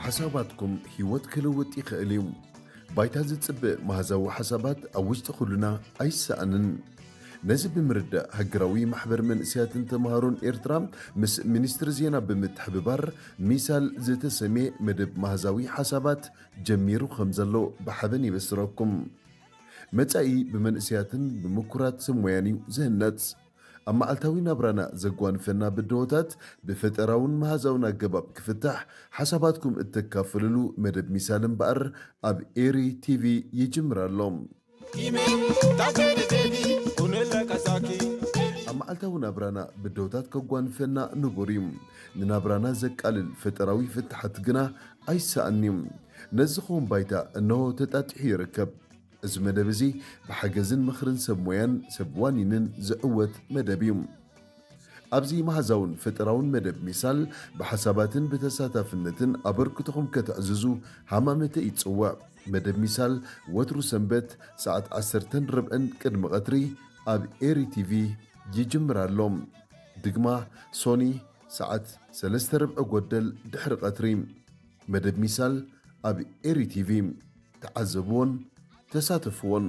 ሓሳባትኩም ህይወት ክልውጥ ይኽእል እዩ። ባይታ ዝጽበ መሃዛዊ ሓሳባት ኣብ ውሽጢ ኩልና ኣይሰኣንን። ነዚ ብምርዳእ ሃገራዊ ማሕበር መንእሰያትን ተምሃሮን ኤርትራ ምስ ሚኒስትሪ ዜና ብምትሕብባር ሚሳል ዝተሰምየ መደብ መሃዛዊ ሓሳባት ጀሚሩ ከም ዘሎ ብሓበን ይበስረኩም። መጻኢ ብመንእሰያትን ብምኩራት ሰብ ሞያን እዩ ዝህነጽ። ኣብ መዓልታዊ ናብራና ዘጓንፈና ብድሆታት ብፈጠራውን መሃዛውን ኣገባብ ክፍታሕ ሓሳባትኩም እተካፍልሉ መደብ ሚሳል እምበኣር ኣብ ኤሪ ቲቪ ይጅምር ኣሎ። ኣብ መዓልታዊ ናብራና ብድሆታት ከጓንፈና ንቡር እዩ። ንናብራና ዘቃልል ፈጠራዊ ፍትሓት ግና ኣይሰኣን እዩ። ነዚ ኸውን ባይታ እነሆ ተጣጢሑ ይርከብ። እዚ መደብ እዚ ብሓገዝን ምኽርን ሰብ ሞያን ሰብ ዋኒንን ዝዕወት መደብ እዩ። ኣብዚ መሃዛውን ፈጠራውን መደብ ሚሳል ብሓሳባትን ብተሳታፍነትን ኣበርክቶኹም ከተዕዝዙ ሃማመተ ይጽውዕ። መደብ ሚሳል ወትሩ ሰንበት ሰዓት ዓሰርተን ርብዕን ቅድሚ ቀትሪ ኣብ ኤሪ ቲቪ ይጅምር ኣሎ። ድግማ ሶኒ ሰዓት ሰለስተ ርብዒ ጎደል ድሕሪ ቀትሪ። መደብ ሚሳል ኣብ ኤሪ ቲቪ። ተዓዘብዎን ተሳተፍዎን።